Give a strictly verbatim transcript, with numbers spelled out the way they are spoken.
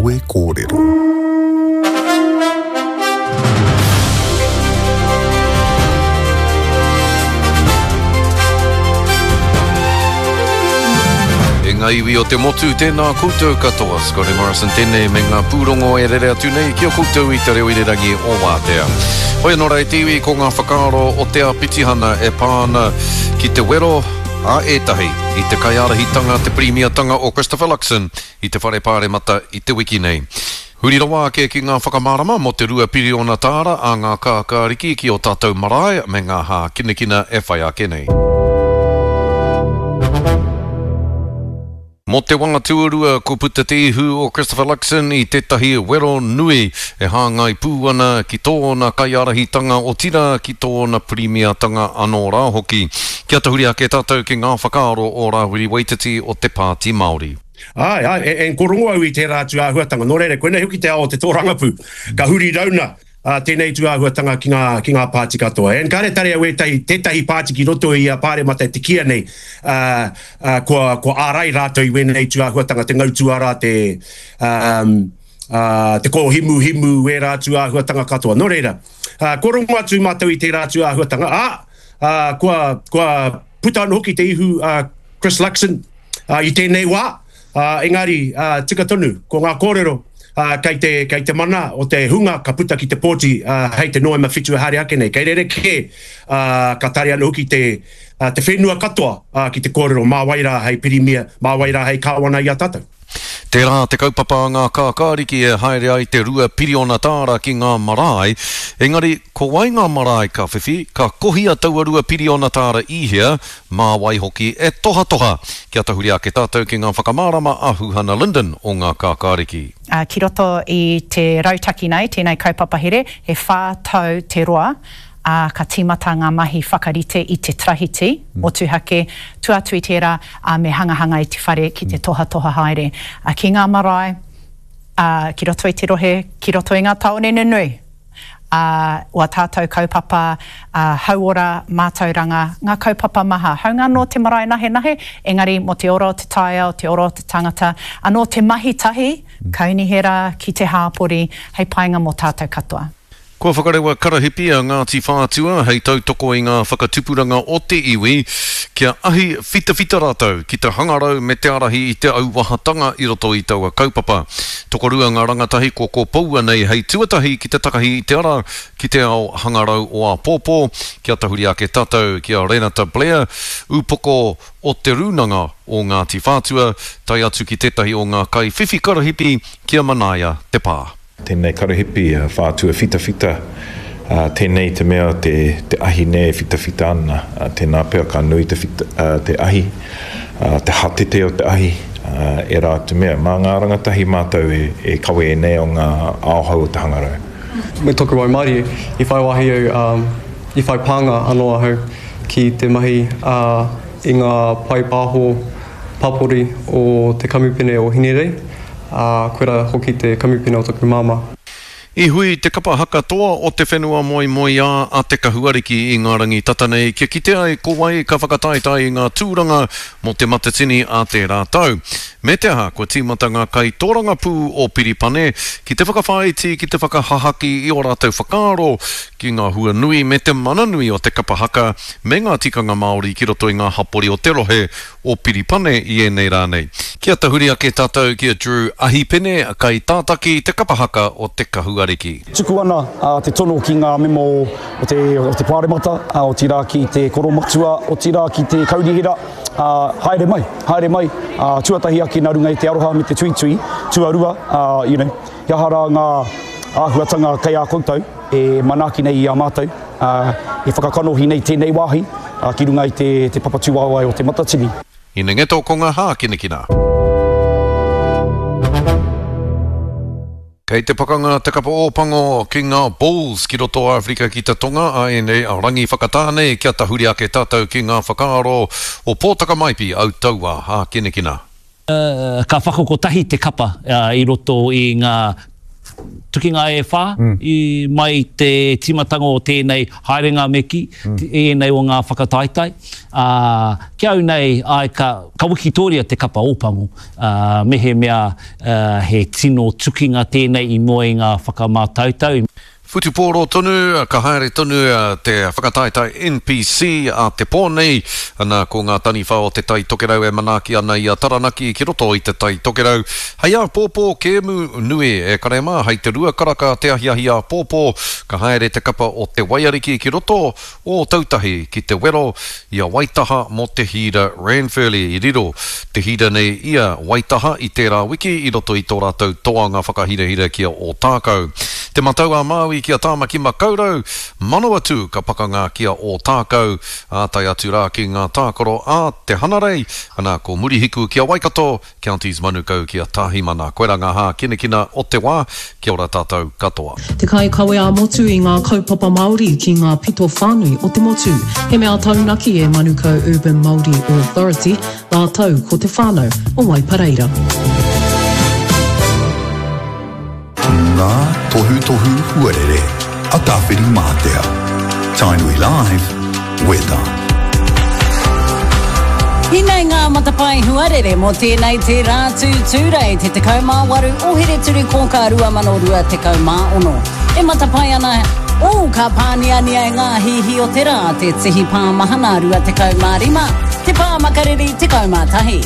Kawe Kōrero. E ngā iwi o te motu, tēnā koutou katoa. Scotty Morrison tēnei me ngā pūrongo e rere atu nei ki a koutou i te reo irirangi o Wātea. Hoi anō rā e te iwi, ko ngā whakaaro o te āpitihana e pā ana ki te wero a ētahi i te kaiārahitanga, te pirimiatanga o Christopher Luxon i te Whare Pāremata i te wiki nei. Huri rawa ake ki ngā whakamārama mō te rua piriona tāra a ngā kākāriki ki ō tātou marae me ngā hākinakina e whai ake nei. Mō te wā tuarua, kua puta te ihu o Christopher Luxon i tētahi wero nui e hāngai pū ana ki tōna kaiārahitanga, otirā ki tōna pirimiatanga anō rā hoki. Kia tahuri ake tātou ki ngā whakaaro o Rāwiri Waititi o te Pāti Māori. Āe, āe, e, e korongo au i tērā atu āhuatanga. Nō reira, koinei hoki te ao o te tōrangapū. Ka huri rauna uh, tēnei tū āhuatanga ki ngā, ki ngā pāti katoa. And kāre tare au ētahi, tētahi pāti ki roto i a Pāremata e te kīia nei, uh, uh, kua, kua ārai rātou i wēnei tū āhuatanga, te ngau tuara, te, um, uh, te kōhimuhimu, wērā tū āhuatanga katoa. Nō reira, uh, kua rongo atu mātou i tērā tū āhuatanga, ā, uh, kua, kua puta anō hoki te ihu uh, Chris Luxon uh, i tēnei wā, uh, engari uh, tika tonu, ko ngā kōrero uh, kei te, kei te mana o te hunga ka puta ki te pōti uh, hei te Noema whitu e haere ake nei. Kei rerekē uh, ka tare anō hoki te, uh, te whenua katoa uh, ki te kōrero mā wai rā hei pirimia, mā wai rā hei kāwana i a tātou. Tērā te kaupapa a ngā kākāriki e haere ai te rua piriona tāra ki ngā marae, engari ko wai ngā marae ka whiwhi, ka kohia taua rua piriona tāra i hea, mā wai hoki e tohatoha. Kia tahuri ake tātou ki ngā whakamārama a Huhana Lyndon o ngā kākāriki. Uh, ki roto i te rautaki nei, tēnei kaupapa here, he whā tau te roa, uh, ka tīmata ngā mahi whakarite i te trahiti, mm. motuhake, tua atu i tērā, uh, me hangahanga i te whare ki te tohatoha haere. Uh, ki ngā marae, uh, ki roto i te rohe, ki roto i ngā tāone nunui, uh, o a tātou kaupapa, uh, hauora, mātauranga, ngā kaupapa maha. Haunga anō te marae nahenahe, engari mō te ora o te taiao, te ora o te tangata, anō te mahi tahi, kaunihera ki te hāpori, hei painga mō tātou katoa. Kua whakarewa karahipi a Ngāti Whātua hei tautoko i ngā whakatupuranga o te iwi kia ahi whitawhita rātou ki te hangarau me te ārahi i te auahatanga i roto i taua kaupapa. Tokorua ngā rangatahi kua kōpoua nei hei tuatahi ki te takahi i te ara ki te ao hangarau o āpōpō, kia tahuri ake tātou ki a Renata Blair, upoko o te Rūnanga o Ngāti Whātua, tae atu ki tētahi o ngā kaiwhiwhi karahipi ki a Manaia Te Pā. Tēnei karahipi, Whātua whitawhita, tēnei te mea te, te ahi nei e whitawhita ana, tēnā pea ka nui te, whita, te ahi, te hatete o te ahi, e rā te mea. Mā ngā rangatahi mātou e, e kawe e nei o ngā aohau o te hangarau. Me toku waimarie, i whai wāhi au, um, i whai pānga anō ahau ki te mahi uh, i ngā pae pāho papori o te kamupene o Hinerei, ā, koirā hoki te kamupene o taku māmā. I hui te kapa haka toa o te whenua moemoeā a Te Kahuariki i ngā rangi tata nei kia kite ai ko wai ka whakataetae i ngā tūranga mō Te Matatini a tērā tau. Me te aha, kua tīmata ngā kaitōrangapū o Piripane ki te whakawhāiti ki te whakahahaki i ō rātou whakaaro ki ngā hua nui me te mana nui o te kapa haka me ngā tikanga Māori ki roto i ngā hapori o te rohe o Piripane i ēnei rā nei. Kia tahuri ake tātou ki a Drew Ahipene, kaitātaki te kapa haka o Te Kahuariki. Tuku ana te tono ki ngā mema o te, o te Pāremata, otirā ki te Koromatua, otirā ki te Kaunihera, haere mai, haere mai, tuatahi ake nā runga i te aroha me te tuitui, tuarua, you know, he aha rā ngā āhuatanga kei a koutou e manaaki nei i a mātou, e whakakanohi nei tēnei wāhi ki runga i te, te papatūāwae o Te Matatini. Hinengeto ko ngā hākinakina. Kei te pakanga te kapa Ōpango ki ngā Bulls ki roto o Āwherika ki te Tonga a ēnei rangi whakatāne kia tahuri ake tātou ki ngā whakaaro o Pōtaka Maipi au taua hākinakina. Ka whakakotahi te kapa i roto i ngā tukinga e whā mm. i mai te tīmatanga o tēnei haerenga me kī, mm. ēnei o ngā whakataetae. Uh, ki au nei, ai, ka, ka wikitoria te kapa Ōpango, uh, mehemea uh, he tino tukinga tēnei i mua i ngā whakamātautau. Whutupōro tonu, ka haere tonu te whakataetae N P C a te pō nei. Ana, ko ngā taniwha o te Tai Tokerau e manaaki ana i a Taranaki ki roto i te Tai Tokerau. Hei āpōpō kēmu nui e kare mā, hei te rua karaka te ahiahi āpōpō, ka haere te kapa o Te Waiariki ki roto o Ōtautahi ki te wero i a Waitaha mō te Hīra Ranfurly. I riro te hīra nei i a Waitaha i tērā wiki i roto i tō rātou toanga whakahirahira ki a Ōtākou. Te Matau a Māui ki a Tāmaki Makaurau, Manawatū ka pakanga ki a Ōtākou, ā, tae atu rā ki ngā tākaro a Te Hanarei, ana ko Murihiku ki a Waikato, Counties Manukau ki a Tāhimana. Koirā ngā hākinakina o te wā, kia ora tātou katoa. Te kaikawe ā-motu i ngā kaupapa Māori ki ngā pito whānui o te motu. He mea taunaki e Manukau Urban Māori Authority, rātou ko te whānau o Waipareira. Ngā tohutohu huarere a Tāwhirimātea. Tainui Live, Weather. Hinei ngā matapae huarere mō tēnei te rā tū Tūrei te tekau mā waru o Here-turi-kōkā rua mano rua tekau mā ono. E matapae ana, ō, ka pāniania e ngā hihi o te rā, te tihi pā mahana rua tekau mā rima, te pā makariri tekau mā tahi.